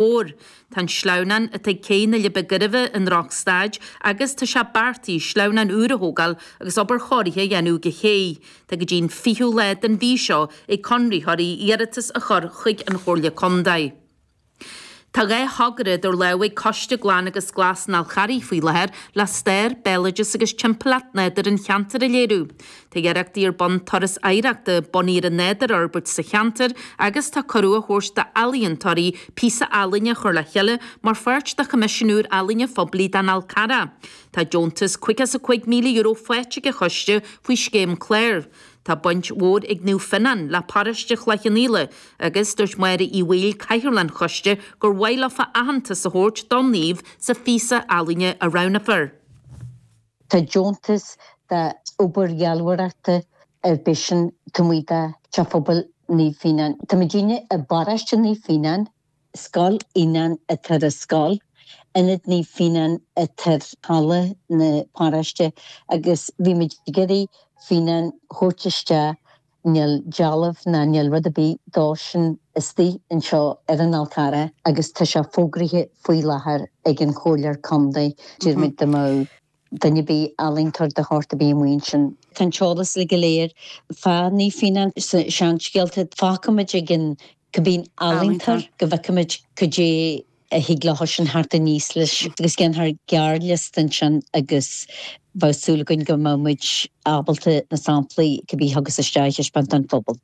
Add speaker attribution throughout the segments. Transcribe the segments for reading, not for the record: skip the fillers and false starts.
Speaker 1: Mhór. Tá an sleamhnán atá ag Cé na Leidhbe Gairbhe i ndrochstaid agus tá sé beartaithe sleamhnán úr a thógáil agus obair chóirithe a dhéanamh ag an ché. Tá go dtí an 20ú lá den mhí seo ag conraitheoirí iarratas a chur chuig an Chomhairle Contae. Tá 2 thogra idir lámha ag Coiste Glan agus Glas an Fhál Charraigh faoi láthair le stair, béaloideas agus timpeallacht nádúir an cheantair a léiriú. Tá iarrachtaí ar bun turas oidhreachta bunaithe ar an nádúr a fhorbairt sa cheantar agus tá cuireadh á thabhairt d'ealaíontóirí píosa ealaíne a chur le chéile mar pháirt de choimisiún úr ealaíne phoiblí don Fhál Carrach. Tá deontas €55,000 faighte ag an choiste faoi scéim cláir. Tá baint mhór ag Naomh Fionán le paróiste Chloich Cheann Fhaola agus dúirt Máire Uí Bhaoill, Cathaoirleach an choiste, gur mhaith leofa aitheantas a thabhairt don naomh sa phíosa ealaíne a roghnófar.
Speaker 2: Tá deontas d'obair dhealbhóireachta ar bith sin taobh amuigh de Teach Phobail Naomh Fíonán. Tá muidinne i bparóiste Naomh Fíonán, Scoil Fhíonáin atá ar an scoil, Ionad Naomh Fíonán atá ar halla na paróiste agus bhí muid ag iarraidh Fíonán thabhairt isteach Níl dealbh ná níl rud ar bith dó sin istigh anseo ar an Fhál Carrach agus tá sé fógraithe faoi láthair ag an Chomhairleoir Contae. Deir muid dá mbeadh duine ar bith, ealaíontóir de shórt ar bith amuigh ansin. Tá an t-eolas uilig go léir fá Naomh Fíonán sna seanscéalta. Fágfaidh muid ag an cibé ealaíontóir go bhfeicfidh muid cad é a thig leo sin theacht aníos leis agus déanfar gearrliosta ansin agus bheadh súil againn go mbeadh muid ábalta na samplaí cibé a thiocfas isteach a thaispeáint don phobal.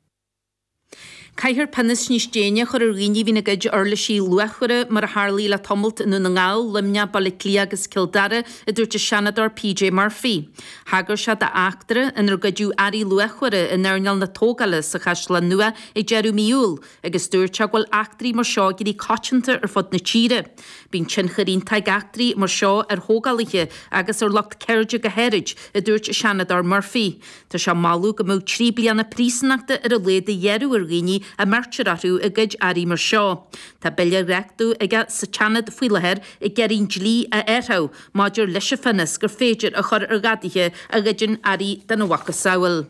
Speaker 1: Caithfear pionós níos déine a chur ar dhaoine a bhíonn ag goid uirlisí luachmhara, mar a tharlaigh le tamalt i nDún na nGall, Luimneach, Baile Átha Cliath agus Cill Dara, a dúirt an Seanadóir PJ Murphy. Thagair sé d'eachtra inar goideadh earraí luachmhara in earnáil na tógála sa Chaisleán Nua ag deireadh mí Iúil, agus dúirt sé go bhfuil eachtraí mar seo ag éirí coitianta ar fud na tíre. Bíonn tionchar iontach ag eachtraí mar seo ar thógálaithe agus ar lucht ceirde go háirid, a dúirt an Seanadóir Murphy. Tá sé ag moladh go mbeadh 3 bliana príosúnachta ar a laghad a ghearradh ar dhaoine a mbeirtear orthu ag goid earraí mar seo. Tá bille á dhréachtú aige sa tSeanad faoi láthair ag iarraidh an dlí a athrú maidir leis an phionós gur féidir a chur ar ghadaithe a ghoideann earraí dena mhacasamhail.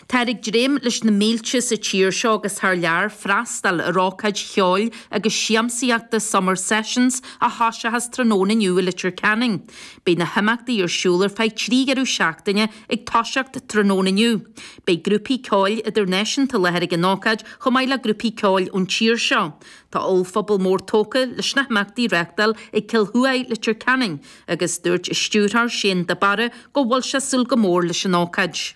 Speaker 1: Táthar ag dréim leis na mílte sa tír seo agus thar lear freastal ar ócáid cheoil agus siamsaíochta Summer Sessions a thoiseochas tráthnóna inniu i Leitir Ceanainn. Beidh na himeachtaí ar siúl ar feadh 3 dheireadh seachtaine ag toiseacht tráthnóna inniu. Beidh grúpaí ceoil idirnáisiúnta i láthair ag an ócáid chomh maith le grúpaí ceoil ón tír seo. Tá ollphuball mór tógtha leis na himeachtaí a reáchtáil ag Cill Thuaidh, Leitir Ceanainn agus dúirt a stiúrthóir Shane de Barra go bhfuil sé ag súil go mór leis an ócáid.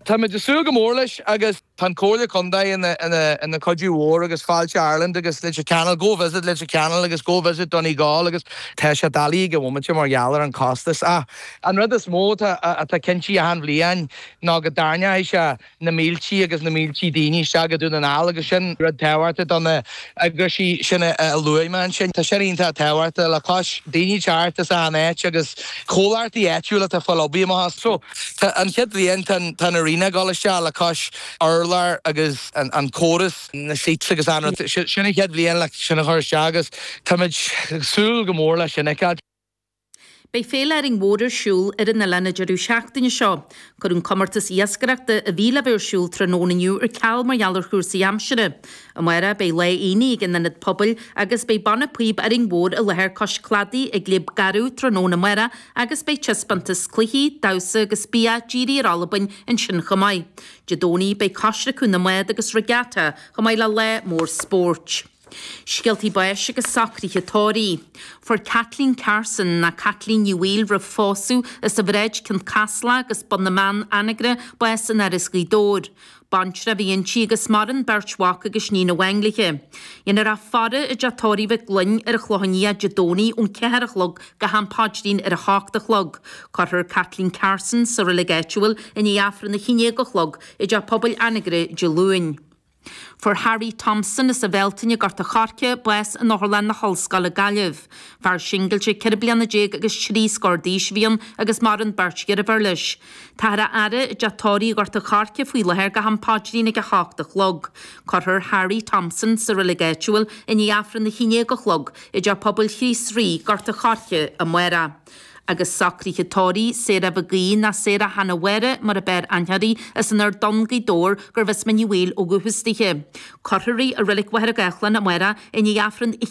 Speaker 3: Táimid ag súil go mór leis agus tá an Comhairle Contae ina cuidiú mhór agus Fáilte Ireland agus Leitir Ceanainn, Go Visit Leitir Ceanainn agus Go Visit Donegal agus tá sé doiligh ag an bhomaite mar gheall ar an costas ach an rud is mó atá cinnte achan bhliain ná go dtarraingeoidh sé na míltí agus na míltí daoine isteach go Dún na nGall agus sin rud tábhachtach do na eagraisí sin a luaigh mé ansin. Tá sin iontach tábhachtach le cois daoine teacht as achan áit agus comhlachtaí áitiúla atá ag fáil obair amach as. So tá an chéad bhliain tá an tá an arena ag dul isteach le cois urlár agus an córas, na seats agus an rud. Sin an chéad bhliain le sin a chur isteach agus táimid ag súil go mór leis sin a fheiceáil.
Speaker 1: Beidh Féile Árainn Mhór ar siúl ar an oileán an deireadh seachtaine seo. Cuireadh an comórtas iascaireachta a bhí le bheith ar siúl tráthnóna inniu ar ceal mar gheall ar chúrsaí aimsire. Amárach beidh lá aonaigh ag an Ionad Pobail agus beidh Banna Píob Árainn Mhór i láthair cois cladaigh ag Léib Garbh tráthnóna amárach agus beidh taispeántas cluichí, damhsa agus bia dírithe ar Albain ansin chomh maith. Dé Domhnaigh beidh coisreacadh na mbád agus regatta chomh maith le lá mór spóirt. Scéaltaí báis agus socruithe tórraimh. Fuair Kathleen Carson, nó Caitlín Ní Bhaoill roimh phósadh, as an Bhráid, Cionn Caslach agus Bun na mBeann, Anagaire, bás in Áras Ghaoth Dobhair. Baintreach a bhí inti agus maireann beirt mhac agus níon amháin léi. Dhéanfar a faire i dteach tórraimh Mhic Gloinn ar an Chlochán Liath Dé Domhnaigh ón 4 a chlog go ham paidrín ar a hocht a chlog. Cuirfear Kathleen Carson sa reilig áitiúil i ndiaidh Aifreann a haon déag a chlog i dteach pobail Anagaire Dé Luain. Fuair Harry Thompson as an Bhealtaine, Gort a' Choirce, bás in Otharlann na hOllscoile, Gaillimh. Fear singilte 14 bliana agus trí scór d'aois a bhí ann agus maireann beirt dheirféar leis. Táthar á fhaire i dteach tórraimh Ghort a' Choirce faoi láthair go ham paidrín ag 8 a chlog. Cuirfear Harry Thompson sa reilig áitiúil i ndiaidh Aifreann a haon déag a chlog i dTeach Pobail Chríost Rí, Gort a' Choirce, amárach. Agus socruithe tórraimh, Sarah Mhig Aoidh ná Sarah Hannah Mháire mar a b'fhearr aithne uirthi, as an Ard Donn, Gaoth Dobhair, gurbh as Mín Uí Bhaoill ó dhúchas dithe. Cuirfear í i Reilig Mhachaire Gathlán amárach i ndiaidh Aifreann a.